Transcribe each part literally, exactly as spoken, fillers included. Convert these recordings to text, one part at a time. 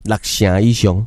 六成以上。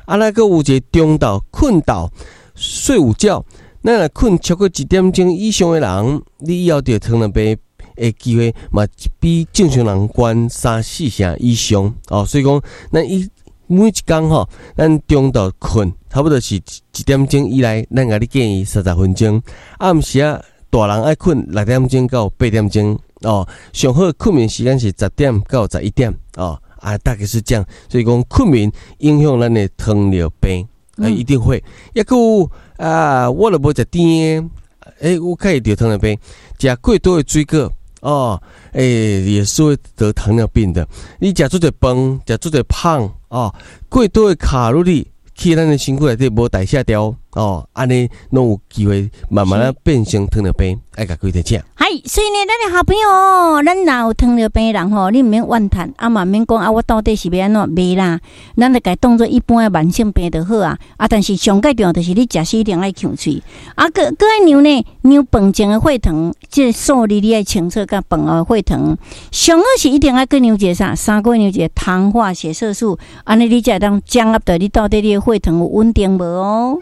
啊，咱閣有一个中晝睏晝睡午覺，咱若睏超過一點鐘以上的人，你以後得糖尿病的機會嘛比正常人懸三四成以上哦。所以講，咱伊每一工吼，咱中晝睏差不多是一點鐘以內，咱共你建議三十分鐘。暗時仔大人愛睏六點鐘到八點鐘哦，上好睏眠時間是十點到十一點哦。啊，大概是這樣。所以講睏眠影響咱的糖尿病，啊，一定會。抑閣有啊，我若無食甜的，欸，我較會得糖尿病。食過多的水果哦，欸，也是會得糖尿病的。你食足濟飯，食足濟胖哦，過多的卡路里去咱的身軀內底無代謝掉哦，按呢攏有機會慢慢仔變成糖尿病，愛共各位提醒。係，所以呢，咱的好朋友，咱若有糖尿病的人吼，你毋免怨嘆，啊嘛毋免講啊，我到底是欲按怎？袂啦，咱就共當做一般的慢性病就好啊。啊，但是上蓋重要就是你食時一定愛勻喙，啊，閣閣愛量呢，量飯前的血糖，這個數字你愛清楚，佮飯後血糖，上好是一定愛閣量一個啥？三個月量一個糖化血色素，按呢你才會當掌握著你到底你的血糖有穩定無哦。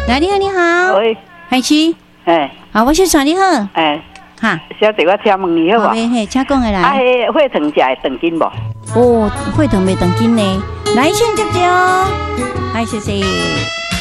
來，你好，你好，喂，係是，哎，好，我先傳你好，哎，哈，小姐，我請問你好無？嘿，請講下來。啊，彼血糖食會斷緊無？哦，血糖袂斷緊呢。來，先接著，來，謝謝。